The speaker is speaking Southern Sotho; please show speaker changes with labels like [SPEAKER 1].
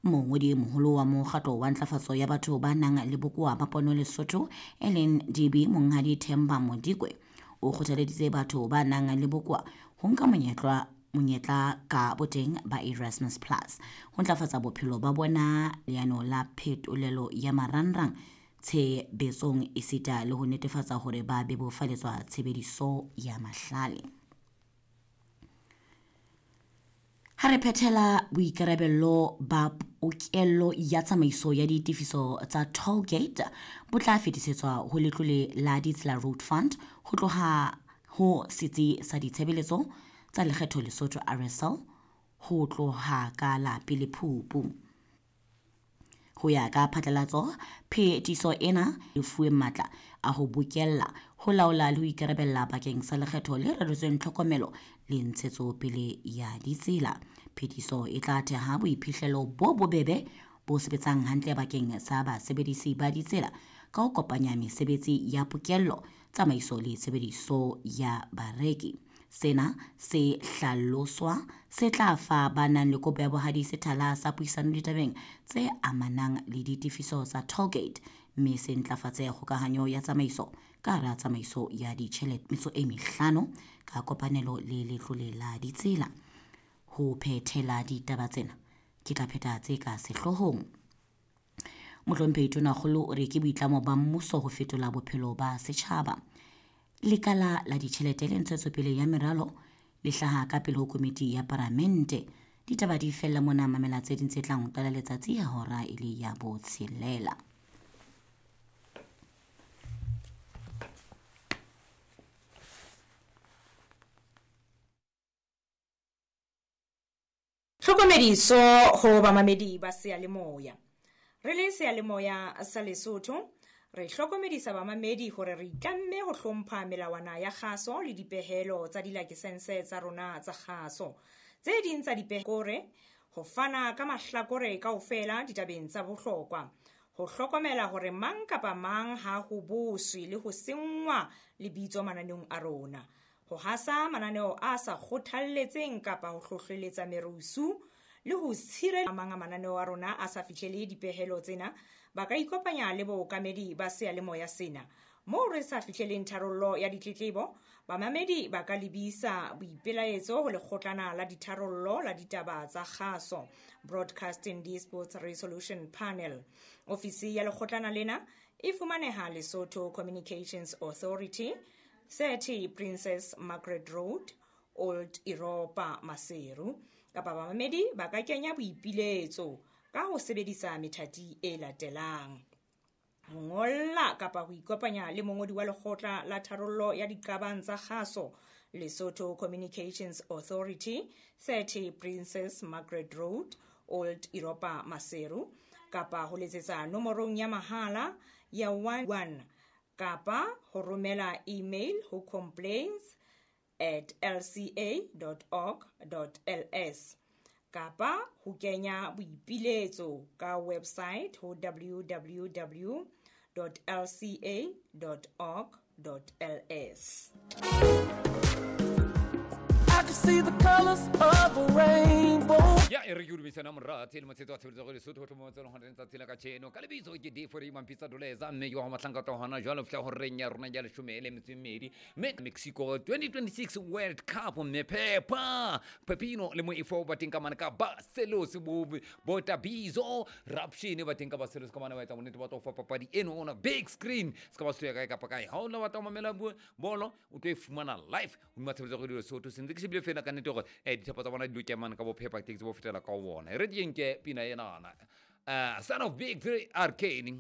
[SPEAKER 1] Mongodi e moholo wa Mokgatlo wa Ntlafatso ya Batho ba Nang le Bokowa ba Pono Lesotho, e leng DB Monghadi Themba Modikwe, o kgothaleditse batho ba nang le bokowa ho nka monyetla monyetla ka boteng ba Erasmus Plus ho ntlafatsa bophelo ba bona, leano la phetolelo ya marangrang tshebetsong esita le ho netefatsa hore ba bebofaletswa tshebediso ya mahlale. Ha re phethela boikarabello ba pokello ya tsamaiso ya ditefiso tsa toll gate bo tla fetisetswa ho Letlole la Ditsela Road Fund ho tloha ho Setsi sa Ditshebeletso tsa Lekgetho Lesotho RSL ho tloha ka la pele Phupu. Ho ya ka phatlalatso, phetiso ena e fuwe matla a ho bokella, ho laola le ho ikarabella bakeng sa lekgetho le reretsweng tlhokomelo le ntshetsopele ya ditsela. Phetiso e tla theha boiphihlelo bo bobebe bo sebetsang hantle bakeng sa basebedisi ba ditsela ka ho kopanya mesebetsi ya pokello, tsamaiso le tshebediso ya bareki. Sena se hlaloswa se tla fa ba nang le kopo ya bohadi sethala sa puisano ditabeng tse amanang le ditefiso tsa tollgate mme se ntlafatse kgokahanyo ya tsamaiso ka hara tsamaiso ya ditjhelete metso e mehlano ka kopanelo le Letlole la Ditsela. Ho phethela ditaba tsena, ke tla pheta tse ka sehloohong. Mohlomphehi Tonakgolo o re ke boitlamo ba mmuso ho fetola bophelo ba setjhaba. Lekala la ditjhelete le ntshetsopele ya meralo le hlaha ka pele ho komiti ya paramente. Ditaba di fella mona, mamela tse ding tse tlang ho qala letsatsi ya hora e le ya botshelela.
[SPEAKER 2] Tlhokomediso ho bamamedi ba seyalemoya. Re le seyalemoya sa Lesotho, re hlokomedisa bamamedi hore re itlamme ho hlompha melawana ya kgaso le dipehelo tsa dilakesense tsa rona tsa kgaso. Tse ding tsa dipehore ho fana ka mahlakore kaofela ditabeng tsa bohlokwa, ho hlokomela hore mang kapa mang ha ho boswe le ho senngwa lebitso mananeong a rona, ho hasa mananeo a sa kgothalletseng kapa ho hlohleletsa merusu le ho tshireletsa mang a mananeo a rona a sa fihlele dipehelo tsena, ba ka ikopanya le bookamedi ba seyalemoya sena. Moo re sa fihleleng tharollo ya ditletlebo, bamamedi ba ka lebisa boipelaetso ho lekgotlana la ditharollo la ditaba tsa kgaso, Broadcasting Disputes Resolution Panel. Ofisi ya lekgotlana lena e fumaneha Lesotho Communications Authority, 30 Princess Margaret Road, Old Europa, Maseru. Kapa bamamedi ba ka kenya boipiletso ka ho sebedisa methati e latelang: ho ngolla kapa ho ikopanya le mongodi wa lekgotla la tharollo ya diqabang tsa kgaso, Lesotho Communications Authority, 30 Princess Margaret Road, Old Europa, Maseru, kapa ho letsetsa nomorong ya mahala ya 11 kapa ho romela email ho complaints at lca.org.ls kapa ho kenya boipiletso ka website ho www.lca.org.ls.
[SPEAKER 3] I can see the colors of a rainbow.
[SPEAKER 4] Ya e re ke dumedisana morate le motshetso wa tshebeletso go Lesotho ho tlhomo tse leng tsatsi la kajeno ka lebitso ke Defori Mampitsa Doleza, mme ke wa go matlhanka tla hona jwalo fihla horeng ya rona ya leshome le metso e mmedi, mme Mexico 2026 World Cup, mme Peppa Pepino le Moifo ba teng ka mane ka Barcelos, bo Botabizo Rapshine ba teng ka Barcelos ka mane, ba etsa bonnete ba tlo fa papadi eno ona big screen se ka ba se ya kae kapa kae. Ha o la batla ho mamela bolo, o tlo e fumana live hodima tshebeletso ya Lesotho. Sentse ke shebile fela ka nnete hore dithapo tsa bona di lo kemane ka bophepa, ke tsebo fetela ka bona. E re ke nke pina enana, Son of Big 3 Arcane.